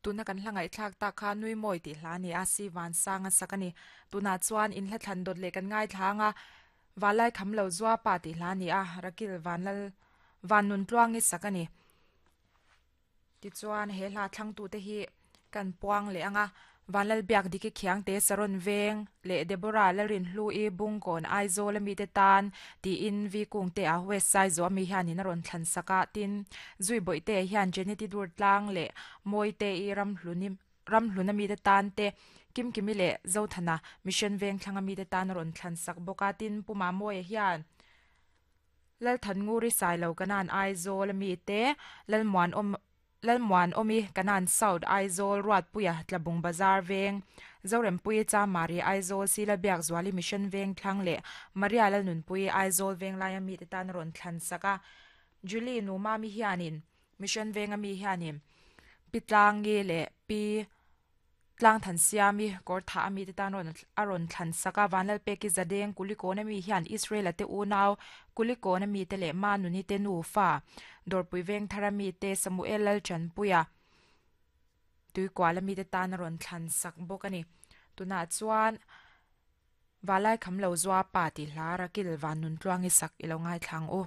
Tuna kan hla ngaihthlak tak kha nui mawi tih hla a ni a, si vansang a sak a ni. Tunah chuan in hla thlan dawt leh kan ngaithla ang a, Valai kham lo zua pa tih hla a ni a, Rakil Vanlal Vannun Tluangi sak a ni. Tichuan he hla thlangtute hi kan puang leh ang a, Vanlal Biak Diki Khiangte Saron Veng leh Deborah Lalrinhlu-i Bungkawn Aizawl a mite tan tiin Vi Kungte a West Saizaw ami hianin a rawn thlan sak a, tin Zui Bawihte hian Jeneti Durtlang leh Mawite-i Ramhluni Ramhluna mite tan te Kimkimi leh Zothana Mission Vengthlang a mite tan a rawn thlan sak bawk a, tin Pu Mamawia hian Lalthannguri Sailo Kanan Aizawl a mite Lalmuanawm Lalmuanawmi Kanan South Aizawl Ruatpuia Tlabung Bazar Veng Zorempuii Chamari Aizawl Sila Biakzuali Mission Veng Thlang leh Maria Lalnunpuii Aizawl Venglaia mite tan a rawn thlan sak a. Julie Numami hianin Mission Venga mi hianin Pi Tlangi leh Pi Tlang than siami kawr thah a mite tan rawn a rawn thlan sak a, Vanlalpeki Zadeng Kulikawna mi hian Israel-a te unau Kulikawna mite leh Manuni te nufa Dawrpui Vengthara mite Samuel Lalchanpuia Tuikuala mite tan a rawn thlan sak bawk a ni. Tunah chuan Valai Khamlo Zuapa tih hla Rakil Vannuntluangi sak i lo ngaithla ang u.